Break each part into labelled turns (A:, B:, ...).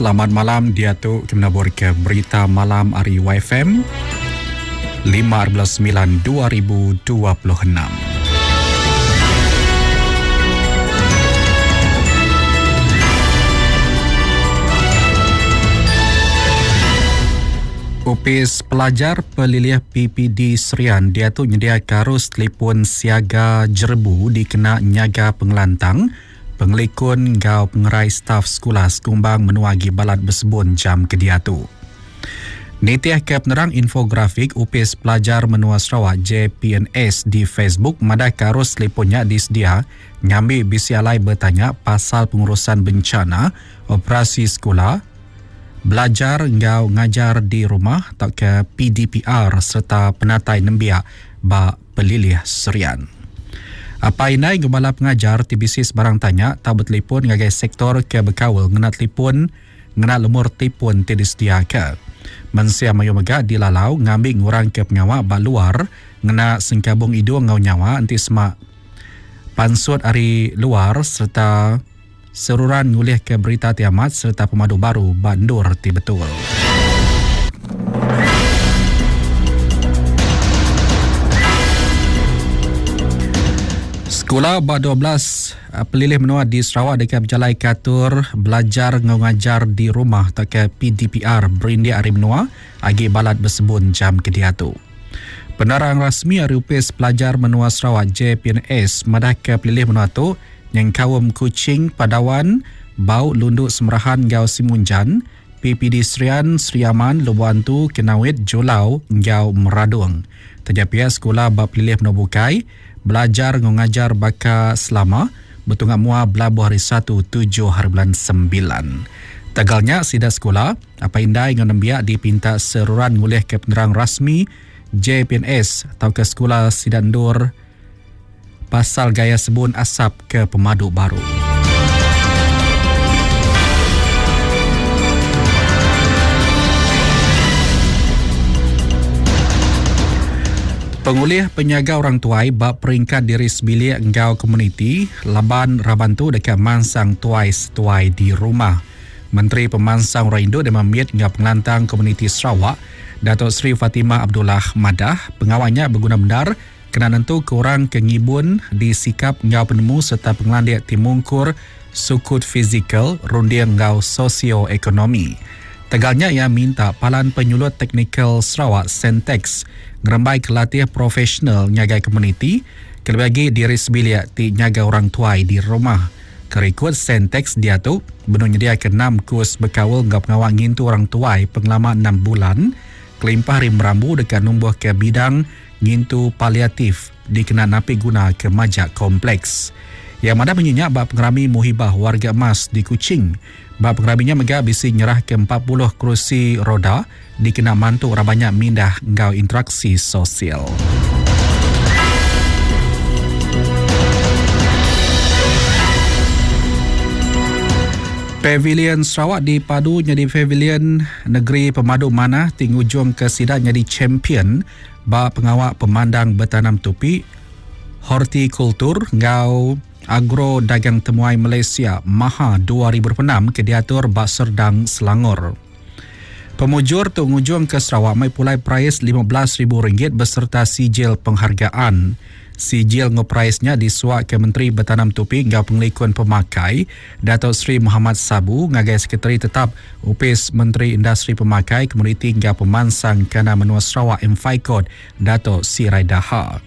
A: Selamat malam diatu ke menaburka berita malam ari YFM 5 9 2026. Opis Pelajar Pelilih PPD Serian diatu nyediaka arus telefon siaga jerebu dikena nyaga pengelantang, pengelikun enggau pengerai staf sekula sekumbang menua agi balat besebun jam ke diatu. Nitihka penerang infografik Opis Pelajar Menua Sarawak, JPNS, di Facebook madahka arus telefon nya disedia ngambi bisi alai betanya pasal pengurusan bencana, operasi sekula, belajar enggau ngajar di rumah tauka PDPR sereta penatai nembiak ba Pelilih Serian. Apai indai enggau bala pengajar ti bisi sebarang tanya tau betelefon ngagai sektor ke bekaul ngena telefon ngena lumur telefon ti disediaka. Mensia mayuh mega dilalau ngambi ngurangka pengawa ba luar ngena sengkabung idung enggau nyawa enti sema pansut ari luar sereta Seruran ngulihka berita ti amat sereta pemadu baru ba endur ti betul. Sekula ba 12 eh, pelilih menua di Sarawak deka bejalaika atur belajar enggau ngajar di rumah tauka PDPR berindik ari menua agi balat besebun jam ke diatu. Penerang rasmi ari Opis Pelajar Menua Sarawak JPNS madahka pelilih menua tu nyengkaum Kuching, Padawan, Bau, Lundu, Semerahan enggau Simunjan, PPD Serian, Sri Aman, Lubok Antu, Kenawit, Julau enggau Meradong. Taja pia sekula ba pelilih menua bukai belajar enggau ngajar baka selama betunga mua belabuh hari Satu tujuh haribulan Sembilan. Tegal nya sida sekula, apai indai enggau nembiak dipinta seruran ngulihka penerang rasmi JPNS tauka sekula sida endur pasal gaya sebun asap ke pemadu baru. Pengulih penyaga orang tuai ba peringkat diri sebilik enggau komuniti laban raban tu deka mansang tuai setuai di rumah. Menteri Pemansang Orang Indu Dema Mit enggau Pengelantang Komuniti Sarawak, Dato Sri Fatimah Abdullah madah, pengawa nya beguna bendar Kena nentuka orang ke ngibun disikap enggau penemu sereta pengelandik ti mungkur sukut fizikal, runding enggau sosio-ekonomi. Tegal nya iya minta Palan Penyulut Teknikal Sarawak, Centexs, ngerembaika latih profesional ngagai komuniti, kelebih agi diri sebilik ti nyaga orang tuai di rumah. Ke rikod Centexs diatu benung nyediaka enam kus bekaul enggau pengawa ngintu orang tuai pengelama enam bulan kelimpah ari merambu deka numbuhka bidang ngintu paliatif dikena napi guna ke majak kompleks. Iya madah munyi nya ba pengerami Muhibah Warga Emas di Kuching. Ba pengerami nya mega bisi nyerahka 40 kerusi roda dikena mantu raban nya mindah enggau interaksi sosial. Pavilion Sarawak dipadu nyadi pavilion negeri pemadu manah ti ngujungka sida nyadi champion Ba pengawa pemandang betanam tupi, hortikultur enggau agro dagang temuai Malaysia, Maha 2026 ke diatur ba Serdang, Selangor. Pemujur tu ngujungka Sarawak mai pulai perais 15,000 ringgit besereta sijil penghargaan. Sijil enggau perais nya disuaka Menteri Betanam Tupi enggau Pengelikun Pemakai, Dato Sri Mohamad Sabu ngagai Sekretari Tetap Opis Menteri Industri Pemakai, Komoditi enggau Pemansang Kandang Menua Sarawak MFICOD, Dato Sirai Daha.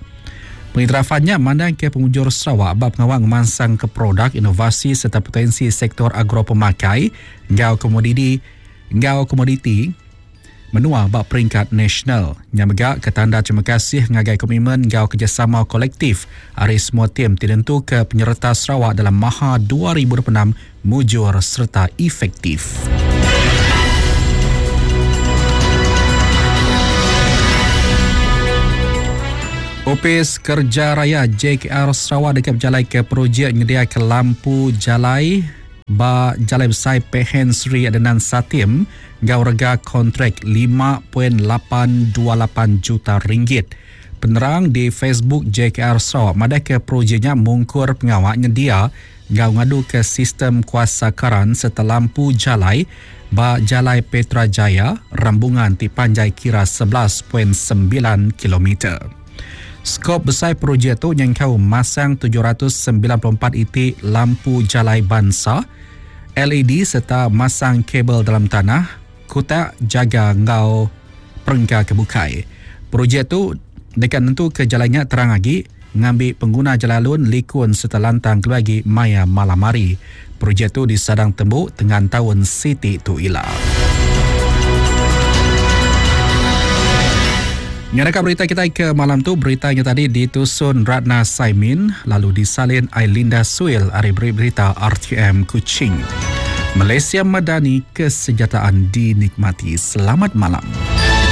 A: Pengiktirafan nya mandangka pemujur Sarawak ba pengawa ngemansangka produk, inovasi sereta potensi sektor agro-pemakai enggau komodidi enggau komoditi menua ba peringkat nasional. Nya mega ke tanda terima kasih ngagai komitmen enggau kerejasama kolektif ari semua tim ti nentuka penyereta Sarawak dalam Maha 2026 mujur sereta efektif. Opis Kerja Raya JKR Sarawak deka bejalaika projek nyediaka lampu jalai ba Jalai Besai Pehen Sri Adenan Satim enggau rega kontrak 5.828 juta ringgit. Penerang di Facebook JKR Sarawak madahka projek nya mungkur pengawa nyendia. enggau ngaduka sistem kuasa karan sereta lampu jalai ba Jalai Petra Jaya, Rambungan ti panjai kira 11.9 kilometer. Skop besai projek tu nyengkaum masang 794 iti lampu jalai bansa LED sereta masang kabel dalam tanah, kutak jaga enggau perengka ke bukai. Projek tu deka nentuka jalai nya terang agi ngambi pengguna jalai alun likun sereta lantang kelebih agi maya malam hari. Projek tu disadang tembu tengan taun siti tu ila. Nyadaka berita kitai ke malam tu, berita nya tadi ditusun Ratna Saimin lalu disalin Ailinda Suil ari Berita RTM Kuching. Malaysia Madani, kesejahteraan dinikmati. Selamat malam.